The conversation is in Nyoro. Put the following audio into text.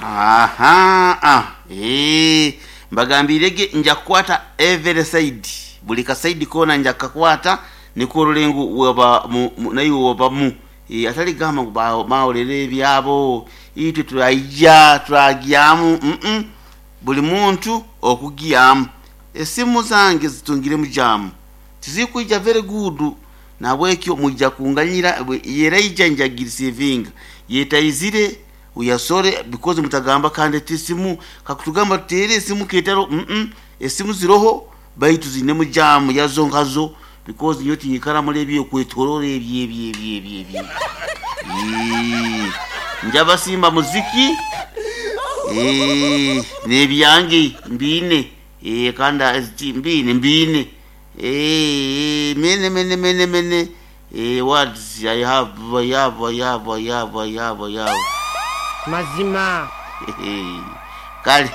Aha, ah, mbagambiirege nja kukwata every side, buli kasayidi koona nja kukakwata nikwo orole ngu waba naiwe wabamu. Atali kugamba ngu bawolera ebyabo itwe turaija turagyamu, buli muntu okugyamu. Esimu zange zitungiremu jaamu, tizikwija very good, nahabwekyo mwija kunganyira, yeraija nja kugirisiivinga, yetaizire we are sorry because mutagamba kandi ati esimu kakutugamba tuteere esimu ketaro, esimu ziroho baitu ziinemu jaamu yazo nkazo because nyowe tinyikara muli eby'okwetorora ebyo ebyo ebyo ebyo ebyo. Njabasimba muziki n'ebyange mbiine kandi mbiine mbiine many many many many words I have, I have, I have, I have, I have, I have. Mazima. Kale.